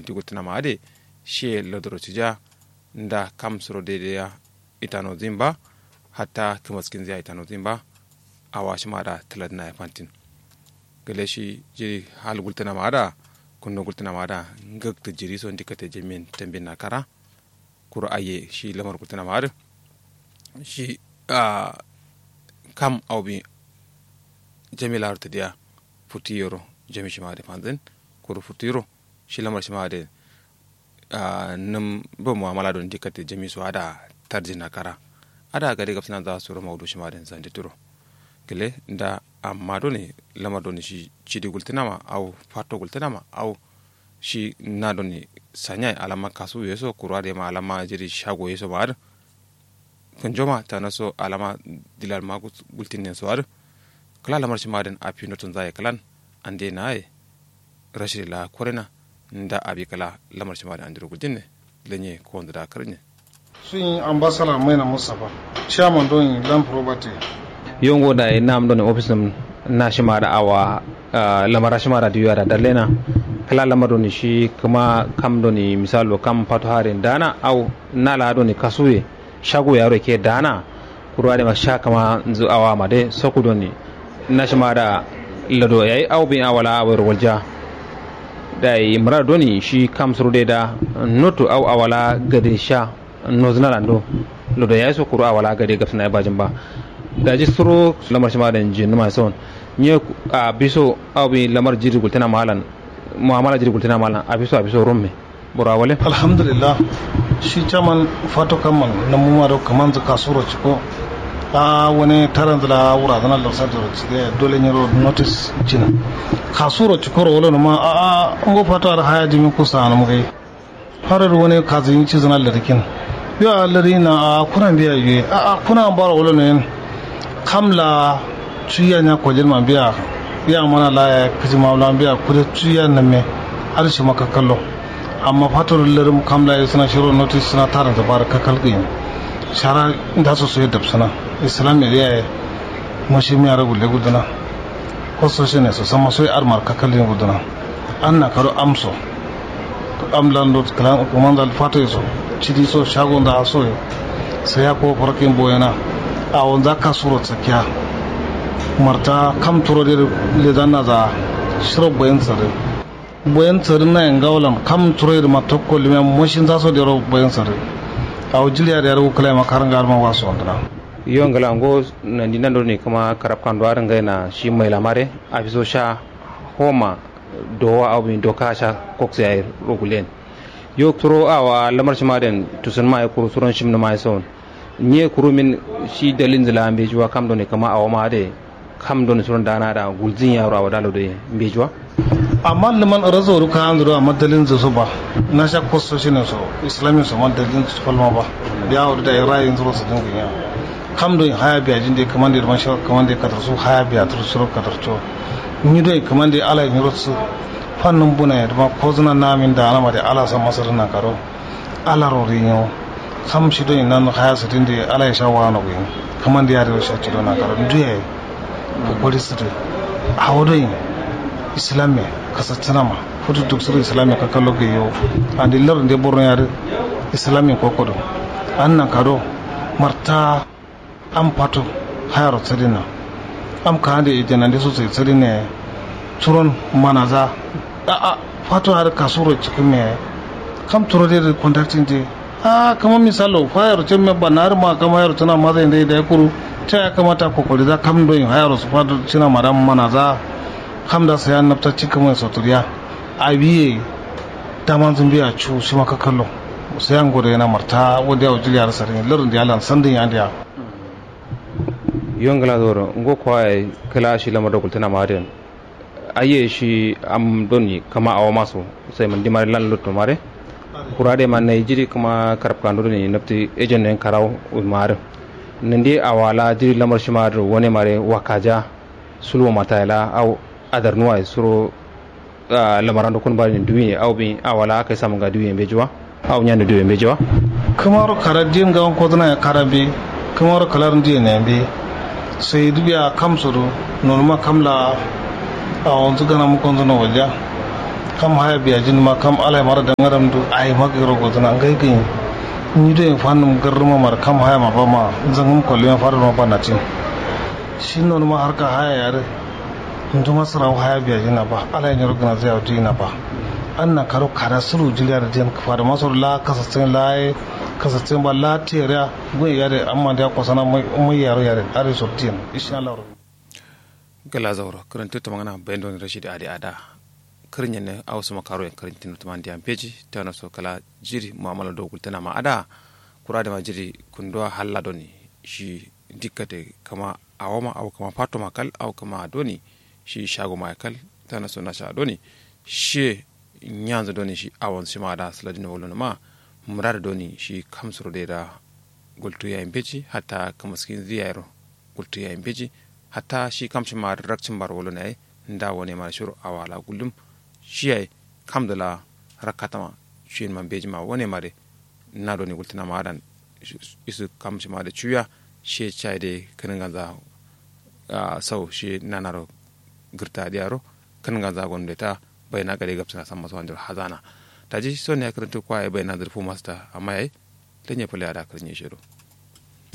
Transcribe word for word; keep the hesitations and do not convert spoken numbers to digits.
ti gultǝnama adǝ ye. Shiye larduro cija nda kam suro dai dai ya itanozin ba. Hatta kǝmaskinzǝ ya itanozin ba. Awa shima da tǝladǝna ye fantin. Gale shi jiri hal gultǝnama adǝ a kunno gultǝnama adǝ a ngaktǝ jiri so ndikate jamin tambin na kara. Kuru aye shi lamar gultǝnama adǝ shi a kam au bi jami laro tǝdiya. Futu yero jami shima adǝ fanzin kuru futu yero shi lamar shima adǝ. Nǝm bo mu'amala doni dikkatte jami so ada tarjin na kara. Ada gade gabsǝna za suro maudu shima adǝ zandi turo. Gǝle nda amma doni lamar doni shi cidi gultǝnama au fato gultǝnama au shi na doni sanya ye alama kasu ye so kuru adǝ ye ma alama jiri shago ye so ma adǝ. Kǝnjo ma tana so alama dilan ma gultin nen so adǝ. Kǝla lamar shima adǝn afi notun za ye kǝlan ande na ye. Rashidi la korena nda abi kǝla lamar shima adǝn andiro guljin ne. Lenye kowonzǝ da kǝrnye. Suyin ambasala maina mustapha chairman don land property. Yo ngo dayi nam doni office nǝm na shima da awa lamara shima da diwiya da dallena. Kǝla lamar doni shi kǝma kam doni misalo kam fato harin dana au na la doni kasuye. Shago yaro ke dana kuru adǝ ma sha kǝma nzǝ awa ma dai soku doni. Na shima da lado yayi au bin awala awai ro walja. Dayi murado doni shi kam suro dai da notu au awala gade sha. Nozǝna lando lodo yayi so kuru awala gade gabsǝna ye bajin ba. Daji suro lamar shima da nji numa son nye abiso au bi lamar jiri gultǝna malan. Mu'amala jiri gultǝna malan abiso abiso rumme. Boro awale alhamdulillah. Shi chaman fato kamman namuma do kǝmanzǝ kasuro ciko. A wane taranzǝ la wurazǝna larsar doro cide dole nyiro notis jin. Kasuro cikoro wolo numa a a ngo fato ar haya dimin kusa anum gai. Farar wani kazin cizina larikin. Yo a lari na a kuna biya yuye a a kuna baro wolo noyin. Kam la cuya nya kojin ma biya. Ya mana la ya kiji ma la biya kude cuya na me. Arshi maka kallo. Amma fato larin kam la ya suna shiro notis suna tarin zabar kakal gin. Shara inda su soye dabsana islam ya riya ya. Mashi miya ragu legu dana. Ko so shi ne so sama soye armar kakal gin gudana. An na karo amso. Am lando kumanza fato ye so cidi so shago nda so ye. Sai ya ko farakin boyana. Awonza kasuro tsakiya. Marta kam turo de lezanna za shiro boyin sare. Boyin sare na yanga wulan kam turo de ma tokko limiya moshin za so dero boyin sare. Awo jiliya da yaro kula ma karanga ma waso wandana. Yo ngala ngo nandi nando ne kuma karab kando arin gaina shi mai lamare. Afiso sha homa. Dowa awo bin doka sha kokse yayi rogulen. Yo turo awa lamar shima den tusun ma ye kuru suron shim numa ye son. Nye kuru min shi dalin zila mbejuwa kam doni kama awo ma de. Kam doni suron dana da gulzin yaro awa dalo de mbejuwa. Amma liman razo ruka anzuro amma dalin zo so ba. Na sha kosto shine so islamin so ma dalin so falma ba. Biya wadu da rayin zuro su dinga ya. Kam doni haya biya jinde kamande man shiro kamande kadar su haya biya tur shiro kadar to. Nyi doi kǝmande ala ye nyiro sǝ. Fannǝm buna ye dǝma kozǝna namin da anama de ala samma sǝdǝ nankaro. Ala ro ri nyo. Kam shi doi nan haya sǝdǝn de ala ye sha wano gǝyi. Kǝmande ya dero sha cido nankaro ndu yaye. Kokori sǝdǝ. Awo doi. Islamiye kasatǝnama. Futu duk sǝdǝ islamiye kakallo gǝyi yo. Andi lar nde borno ya dǝ. Islamiye kokodo. An nankado. Marta. Am fato hayaro sǝdinna. Am kande ye janande so sai sǝdinna yayi. Suron manaza. A'a fato har kasuro cikin me yayi. Kam turo de da contacting de. A'a kama misalo hayaro cin me bannar ma kama hayaro tana maza inde da kuru. Ta ya kamata kokori za kam doyin hayaro su fato cina ma da manaza. Kam da sai an nafta cikin mai soturiya. Abiye. Daman zumbiya cu shima kakallo. Sai an gode yana marta wanda ya wajil yara sarin lardin da ya lan sandin ya ndiya. Yo ngla zoro ngo kwa yayi kǝla shi lamar do gultǝna ma adǝ yen. Aiye shi am doni kama awo maso. Sai mǝndi mare lan lotto mare. Kura dai ma nai jiri kǝma karab kando doni nabtǝ ejen no yen karawo. Mare. Nandi awa la jiri lamar shima adǝ ro wane mare wakaja. Sulwo mata ye la awo. Adar nuwa ye suro. Lamaran do kun bari ni duwi ye awo bin awo la akai samun ga duwi ye mbeji wa. Awo nyando duwi ye mbeji wa. Kǝmaro kara din gawon kozǝna ye kara mbeyi. Kǝmaro kǝlar ndiye ne mbeyi. Sai dǝ biya kam so do. Nonuma kam la. Awonzǝ gana mukonzǝ no walja. Kam haya biyajin ma kam alai mara dangaram du ai ma gairo gozuna ngai gin. Ni do yin fanum garruma mara kam haya ma ba ma zangum kollume fadar ma ba natin. Shi nonuma harka haya yare. Nduma sarawo haya biyajin na ba alai nyiro gina zai auti na ba. An na karo kada sulu jiliya da diyan kafada maso la kasassin la ye kasassin ba la tiyariya. Gun yare amma da ya kwasana mai yaro yare are so diyan. Ishin Allah. Gala zauro kǝrǝntǝ tǝmangǝna bayan doni rashidi adi ada. Kǝrǝnyen ne awo sǝma karuyen kǝrǝntǝ nǝ tǝmandi ambeji tano so kala jiri mu'amala do gultǝna ma ada. Kura dǝma jiri kunduwa halla doni shi dikkate kama awoma awo kama fatoma kal awo kama doni shi shagoma ye kal. Tano so nasha doni shiye nyanzǝ doni shi awon shima ada sǝladin wallonǝma. Muradu doni shi kamsuro dai da gultu yayi mbeji hatta kǝmǝskinzǝ yayiro. Gultu yayi mbeji hatta shi kam shima adǝ rakcin baro wallon yayi. Nda wane mare shiro awo ala gullum shi yayi. Kamdǝ la rakkatama shiyin ma mbeji ma wane mare. Na doni gultǝna ma adan isǝ kam shima adǝ cuya. Shiye cayi dai kǝnǝnganza sau shiye nanaro gǝrta diyaro. Kǝnǝnganza gonum dai ta baina gade gabsǝna samma so andiro hazana. Daji son yayi kǝrǝntǝ kwa yayi baina zǝrfu masta amma yayi. Lenye fǝle ada kǝrǝnye shiro.